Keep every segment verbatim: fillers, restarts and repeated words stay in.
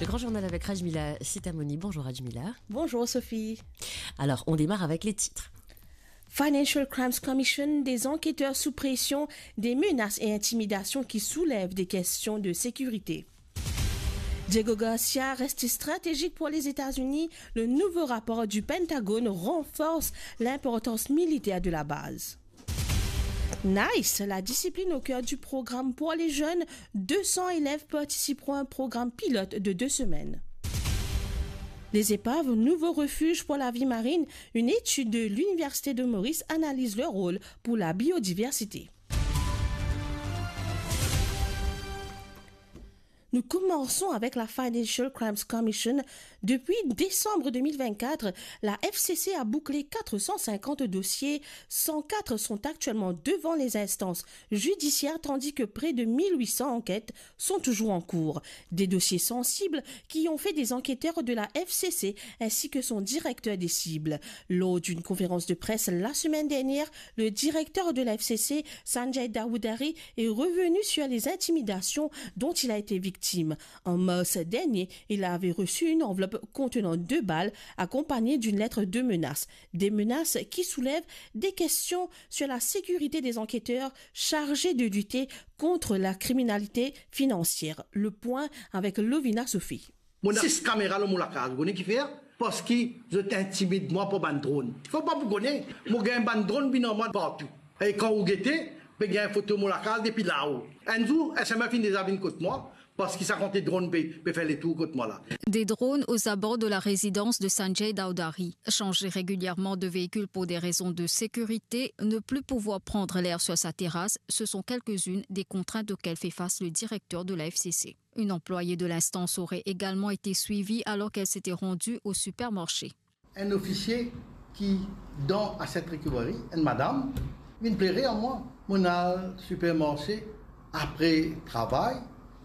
Le grand journal avec Rajmila Sitamoni. Bonjour Rajmila. Bonjour Sophie. Alors, on démarre avec les titres. Financial Crimes Commission, des enquêteurs sous pression, des menaces et intimidations qui soulèvent des questions de sécurité. Diego Garcia reste stratégique pour les États-Unis. Le nouveau rapport du Pentagone renforce l'importance militaire de la base. Nice, la discipline au cœur du programme pour les jeunes. Deux cents élèves participeront à un programme pilote de deux semaines. Les épaves, nouveau refuge pour la vie marine. Une étude de l'Université de Maurice analyse leur rôle pour la biodiversité. Nous commençons avec la Financial Crimes Commission. Depuis décembre deux mille vingt-quatre, la F C C a bouclé quatre cent cinquante dossiers, cent quatre sont actuellement devant les instances judiciaires, tandis que près de mille huit cents enquêtes sont toujours en cours. Des dossiers sensibles qui ont fait des enquêteurs de la F C C ainsi que son directeur des cibles. Lors d'une conférence de presse la semaine dernière, le directeur de la F C C, Sanjay Dawdary, est revenu sur les intimidations dont il a été victime. En mars dernier, il avait reçu une enveloppe contenant deux balles accompagnées d'une lettre de menace. Des menaces qui soulèvent des questions sur la sécurité des enquêteurs chargés de lutter contre la criminalité financière. Le point avec Lovina Sophie. Mo ena sis kamera lor mo lakaz, ou kone kifer? Parski zot intimid mwa par bann dron. Fo pa pou kone, mo gagn bann dron vinn ar mwa partou. E kan ou gete, pe gagn foto mo lakaz depi lao. Enn zour, S M F inn deza vinn kot mwa, parski sa kantite dron pe, pe fer letour kot mwa la. Des drones aux abords de la résidence de Sanjay Dawdary. Chargé régulièrement de véhicules pour des raisons de sécurité, ne plus pouvoir prendre l'air sur sa terrasse, ce sont quelques-unes des contraintes auxquelles fait face le directeur de la F C C. Une employée de l'instance aurait également été suivie alors qu'elle s'était rendue au supermarché. Enn ofisie ki dan asset recovery, enn madam, vinn plere ar mwa. Mo'nn al sipermarse apre travay,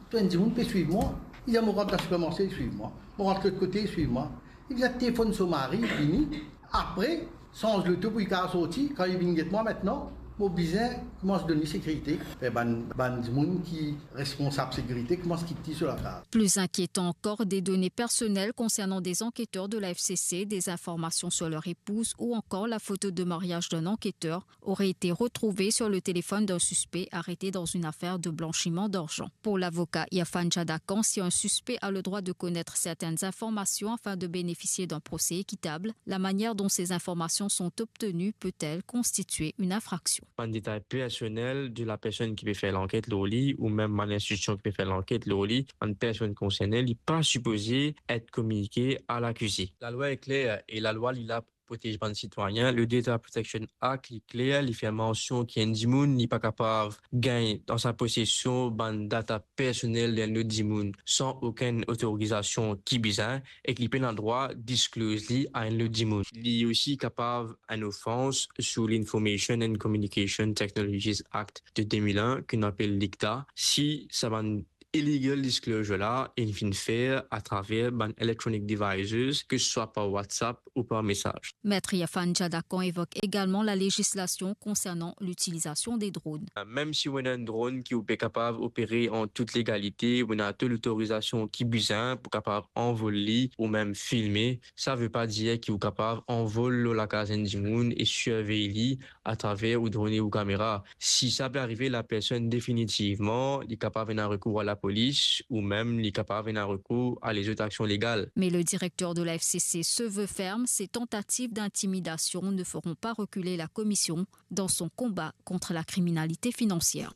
to enn dimoun pe swiv mwa. Li dir mo rant dan sipermarse, li swiv mwa. Mo rant lot kote, li swiv mwa. Li vinn telefonn so mari, vini. Apre, sanz loto pou li kapav sorti. Kan li vinn get mwa, aster mo bizin koumans donn li sekirite. Fer bann, bann dimoun ki responsab sekirite koumans kit li so lakaz. Plus inquiétant encore, des données personnelles concernant des enquêteurs de la F C C, des informations sur leur épouse ou encore la photo de mariage d'un enquêteur auraient été retrouvées sur le téléphone d'un suspect arrêté dans une affaire de blanchiment d'argent. Pour l'avocat Irfan Jadakan, si un suspect a le droit de connaître certaines informations afin de bénéficier d'un procès équitable, la manière dont ces informations sont obtenues peut-elle constituer une infraction. Bann detay personel de la personn ki pe fer lanket lor li, ou mem bann institusion ki pe fer lanket lor li, bann personn konserne, li pa sipoze et kominike a lakize. Lalwa e kler e lalwa li la pou protez bann sitwayin. Le Data Protection Act, li kler, li fer mansion ki enn dimoun, li pa kapav gagn dan sa posesion bann data personel d'enn lot dimoun san okenn otorizasion ki bizin, ek li pena drwa disclose li a enn lot dimoun. Li osi kapav enn ofans sou l'Information and Communication Technologies Act de deux mille un, ki nou apel l'ICTA, si sa bann illegal disclosure la inn finn fer atraver bann electronic devices, ke se swa par WhatsApp ou par mesaz. Maître Irfan Jadakan évoque également la législation concernant l'utilisation des drones. Mem si ou ena enn dron ki ou pe kapav opere an tout legalite, ou ena tou lotorizasion ki bizin pou kapav anvol li ou mem filme, sa ve pa dir ki ou kapav anvol lor lakaz enn dimoun e sirvey li atraver ou dron e ou kamera. Si sa pe arive lapersonn, definitivman, li kapav ena rekour a lapolis ou mem li kapav ena rekour a lezot aksion legal. Mais le directeur de la F C C se veut ferme, ces tentatives d'intimidation ne feront pas reculer la commission dans son combat contre la criminalité financière.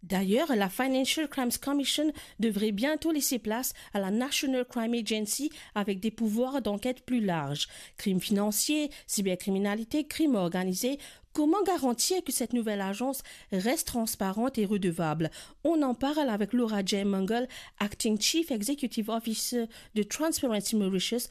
D'ailleurs, la Financial Crimes Commission devrait bientôt laisser place à la National Crime Agency avec des pouvoirs d'enquête plus larges. Crime financier, cybercriminalité, crime organisé, comment garantir que cette nouvelle agence reste transparente et redevable ? On en parle avec Laura Jaymangal, Acting Chief Executive Officer de Transparency Mauritius,